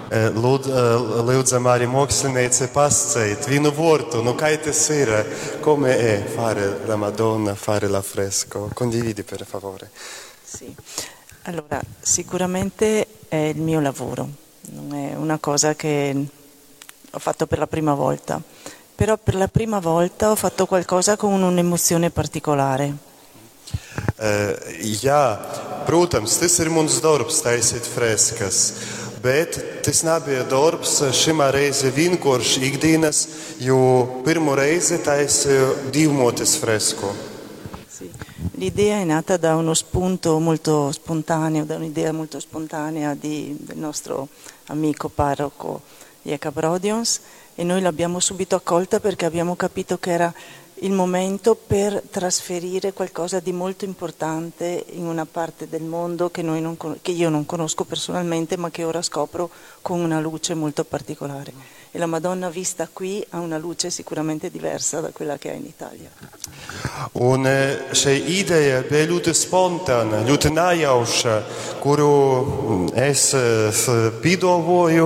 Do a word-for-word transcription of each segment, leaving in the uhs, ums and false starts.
Lūd, lūdzam arī mākslinieci pasceit vienu vārdu, nu kā tas ir, come è fare la Madonna, fare l'affresco? Condividi per favore. Sì. Allora, sicuramente è il mio lavoro, non è una cosa che ho fatto per la prima volta, però per la prima volta ho fatto qualcosa con un'emozione particolare. Uh, jā, protams, tas ir mans darbs taisīt freskas, bet tas nebija darbs šimā reize vienkārši ikdienas, jo pirmo reizi taisīju Dievmōtes fresku. Sì. L'idea è nata da uno spunto molto spontaneo, da un'idea molto spontanea di, del nostro amico parroco Jekab Rodions, e noi l'abbiamo subito accolta perché abbiamo capito che era il momento per trasferire qualcosa di molto importante in una parte del mondo che, noi non, che io non conosco personalmente, ma che ora scopro con una luce molto particolare. E la Madonna vista qui ha una luce sicuramente diversa da quella che ha in Italia. Un šī ideja bija ļoti spontāna, ļoti nejauša, kuru es piedāvāju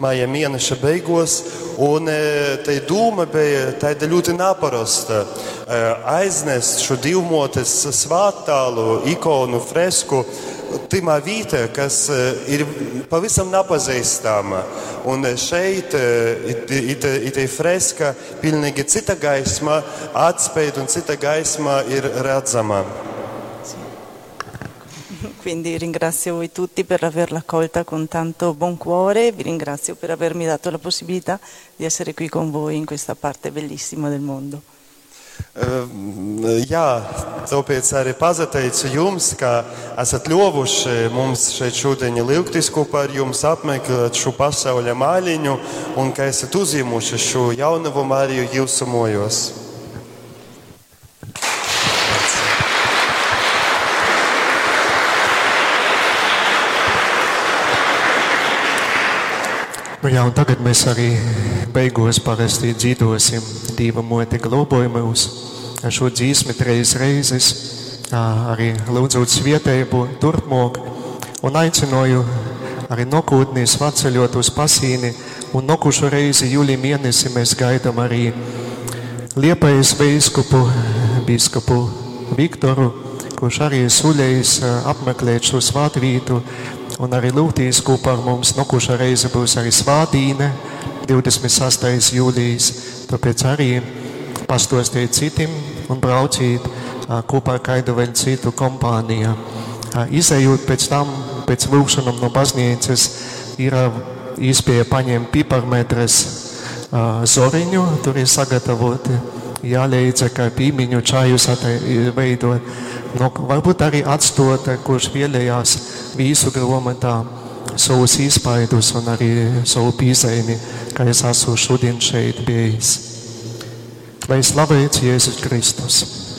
maija mēneša beigās, un tā doma bija tāda ļoti neparasta. Aiznest šo Dievmōtes svēttālu, ikonu, fresku timā vietā, kas ir pavisam nepazīstama. Un šeit it freska pilnīgi cita gaisma atspēj un cita gaisma ir redzama. Quindi ringrazio voi tutti per averla accolta con tanto buon cuore, vi ringrazio per avermi dato la possibilità di essere qui con voi in questa parte bellissima del mondo. Jā, tāpēc arī pateicu jums, ka esat ļovuši mums šeit šodien lūgties kopā ar jums, apmeklēt šo pasauļa māliņu un ka esat uzņēmuši šo jaunavu Mariju jūsu mojos. Nu jā, un tagad mēs arī beigos parasti dzīvosim Dīva mote globoja mūs ar šo dzīsmi treis reizes, arī lūdzot svietēbu turpmāk, un aicināju arī nokūtnī svaceļot uz Pasīni, un nokušu reizi jūlī mēnesi mēs gaidam arī Liepājas biskupu, biskupu Viktoru, kurš arī suļējis apmeklēt šo svētvītu, un arī lūgtīs kopā ar mums. Nokuša reize būs arī svātīne, divdesmit sastais jūlijas, tāpēc arī pastostiet citiem un brauciet kopā ar kādu vēl citu kompāniju. Izejot pēc tam, pēc lūgšanām no baznīcas, ir iespēja paņemt piparmetres zoriņu, tur ir sagatavoti, jāleidza, kā pīmiņu čaju veidot. Nu, varbūt arī atstot, kurš vēlējās visu grāmatā savus iespaidus un arī savu piezīmi, kā es esmu šodien šeit bijis. Lai slavēts Jēzus Kristus!